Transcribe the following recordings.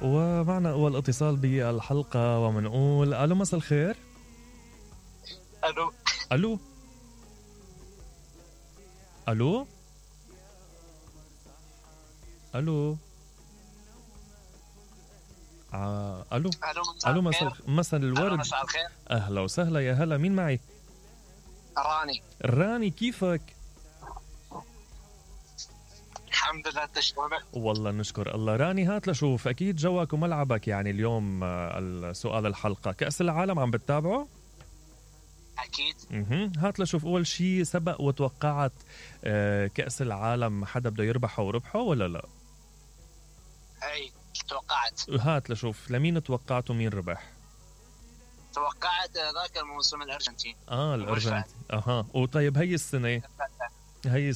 ومعنا أول اتصال بالحلقة ومنقول ألو مساء الخير. الو ألو ألو ألو ألو ألو مساء الورد. مساء الخير. أهلا وسهلا، يا هلا، مين معي؟ راني كيفك؟ الحمد لله، تشكرك. والله نشكر الله. راني هات لشوف، أكيد جوك وملعبك يعني اليوم السؤال الحلقة كأس العالم عم بتتابعه؟ أكيد. هات لشوف، أول شي سبق وتوقعت كأس العالم حدا بده يربحه وربحه ولا لا؟ أي توقعت. هات لشوف، لمين توقعت ومين ربح؟ توقعت ذاك الموسم الأرجنتين. الأرجنتين. وطيب هاي السنة هاي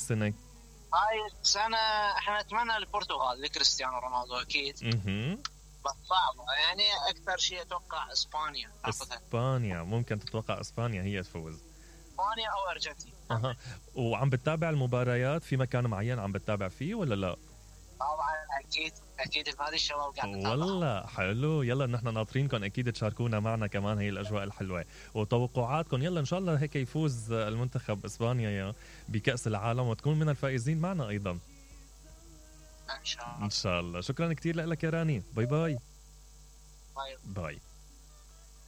السنة احنا نتمنى البرتغال لكريستيانو رونالدو أكيد. بس صعبة يعني، أكثر شيء أتوقع إسبانيا. ممكن تتوقع إسبانيا هي تفوز. إسبانيا أو أرجنتين. وعم بتتابع المباريات في مكان معين عم بتتابع فيه ولا لا؟ طبعا أكيد هذه الشباب قاعد نتابع. والله حلو، يلا نحن ناطرينكم أكيد تشاركونا معنا كمان هي الأجواء الحلوة وتوقعاتكم. يلا إن شاء الله هيك يفوز المنتخب إسبانيا بكأس العالم وتكون من الفائزين معنا أيضا إن شاء الله. شكرا كتير لك يا راني. باي باي.